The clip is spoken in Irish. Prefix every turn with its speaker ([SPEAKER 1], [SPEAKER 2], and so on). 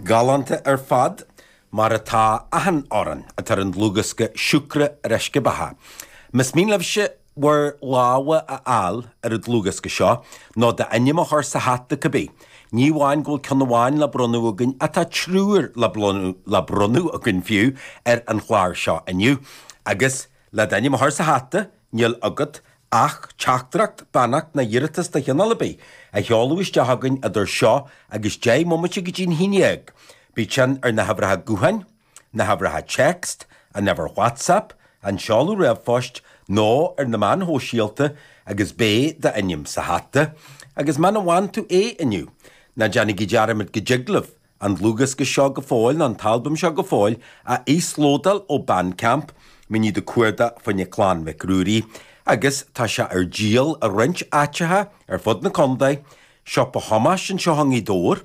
[SPEAKER 1] Galánta ar fad, mar atá achan amhrán atá ar an dlúthdhiosca Siúcra ar Uisce Beatha. Más mian libhse bhur lámha a fháil ar an dlúthdhiosca seo, nó d'ainm a chur sa hata cibé, ní amháin go bhfuil ceann amháin le bronnadh againn ach tá triúr le bronnadh againn fiú ar an chlár seo inniu. Agus le d'ainm a chur sa hata, níl agat ach teachtaireacht, beannacht ná iarratas de chineál ar bith a sheoladh isteach chugainn idir seo agus 10 mbomaite go dtí'n haon dhéag. Bíodh sin ar na huimhreacha gutháin, na huimhreacha text, an uimhir WhatsApp, an seoladh ríomhphoist nó ar na meáin shóisialta agus beidh d'ainm sa hata. Agus muna bhfaigheann tú é inniu, ná déanaigí dearmad go dtig libh an dlúthdhiosca seo go fóill nó an t-albam seo go fóill a íoslódáil ó Bandcamp, muid ag cuardach fá choinne Clann Mhic Ruairí agus tá sé ar díol i roinnt áiteacha ar fud na contae, Siopa Thomáis anseo i nGaoth Dobhair.